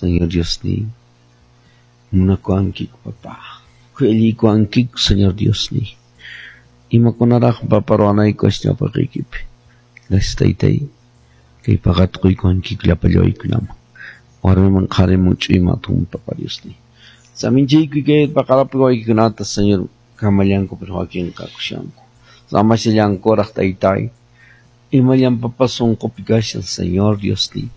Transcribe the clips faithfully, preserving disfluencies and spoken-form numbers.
Señor Diosniy, munakuwankiku, papá. Khuyallikuwankiku, Señor Diosniy. Imakunaraq, papa, ruwanayku ñawpaqiykipi. Gracias, taytay. Kay paqata quykuwankiku llapallaykunaman. Warmiman qhariman ch'uyman atun, papa Diosniy. Saminchayku kay paqarapi waykikunata, Señor, kamallanku pero wakinqa kushanku. Samashallankuraq, taytay. Imallan papa sunqupi kashan, Señor Diosniy.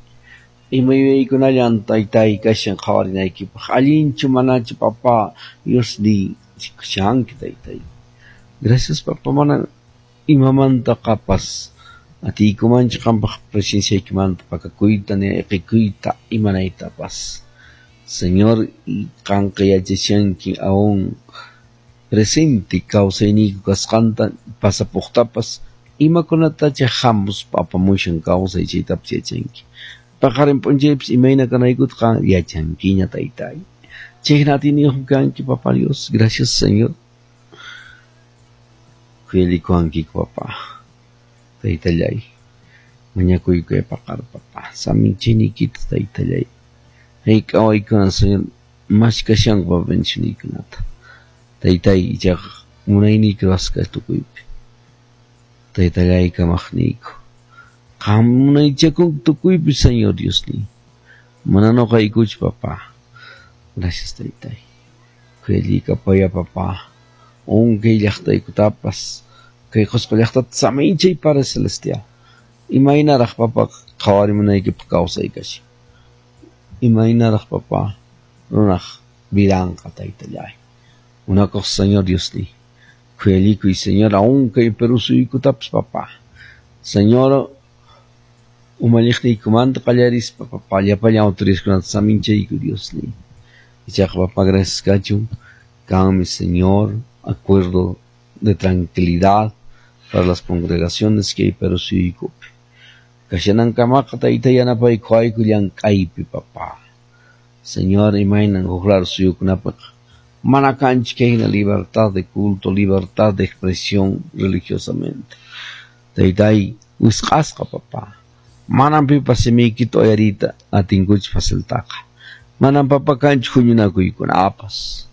Ima yuyaykunallan taytay kashan qhawarinaykipaq. Allinchu manachu, papa Diosniy, rikushanki, taytay. Gracias, papa, mana imamanta qapas atiykumanchu qampaq presenciaykimanta pakakuyta ni ayqikuyta imanaytapas. Señor, qanqa yachashanki aún presente kawsayniyku kasqanta pasapuqtapas imakunatacha hamuspa apamushan kawsay chaytapas yachanki. Paqarin p'unchaypis imayna kanaykuta qan yachankiña, taytay. Chayna atiyniyuqmi kanki, papa Dios. Gracias, Señor. Khuyallikuwankiku, papa. Taytallay. Mañakuyku paqar, papa. Saminchayniykita, taytallay. Hayk'a waykuna, Señor, mashkashanku, papa, bendicioniykunata. Taytay, ichaqa munayniyki ruwasqa tukuypi. Taytallay kamaqniyku. Qam munaychakunki tukuypi, Señor Diosniy. Mana nuqaykuchu, papa. Gracias, taytay. Khuyallikapaya, papa. Unkay llaqtaykutapas kay Qusqu llaqtata saminchay, Padre Celestial. Imaynaraq, papa, qhawarimunaykipaq kawsay kashan. Imaynaraq, papa, runaq vidanqa, taytallay. Munakuq Señor Diosniy. Khuyallikuy, Señor, aún kay Perú suyukutapas, papa. Señor, umalliqniykumanta qallarispa, papa, llapallan autoridadkunata saminchayku, Diosniy. Ichaqa, papa, gracias kachun. Kanmi, Señor, acuerdo de tranquilidad para las congregaciones que hay Perú suyukupi. Kashanankamaqa tayta yanapaykuwayku llank'aypi, papa. Señor, imaynan huk lado suyukunapaq mana kanchu kayna libertad de culto, libertad de expresión religiosamente. Taytay, wisq'asqa, papa. Manam pipas simiykita uyariyta atinkuchu faciltaqa. Manam, papa, kanchu huñunakuykunapas.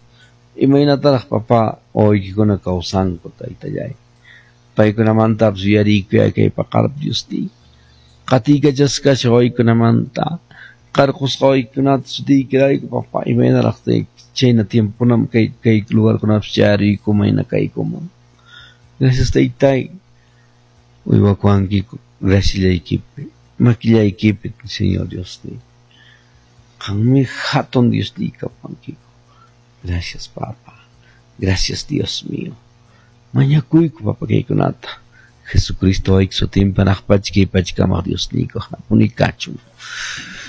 Imaynataraq, papa, wawaykikuna kawsanku, taytallay. Paykunamantapas yuyariykuy kay paqarpi, Diosniy. Qatiykachasqa wawaykunamanta qarqusqa wawaykunata sutiykirayku, papa, imaynaraq chayna tiempokunam kay kay lugarkunapas chayariykuman mayna kaykuman. Gracias, taytay. Uywakuwankiku graciallaykipi, makillaykipi, Señor Diosniy. Qanmi hatun Diosniy kapankiku. Gracias, papa. Gracias, Dios mío. Mañakuyku, papa, kaykunata. Jesucristo wawayki sutinpi hanaq pacha kay pachakamaq Diosniyku hanapuni kachun.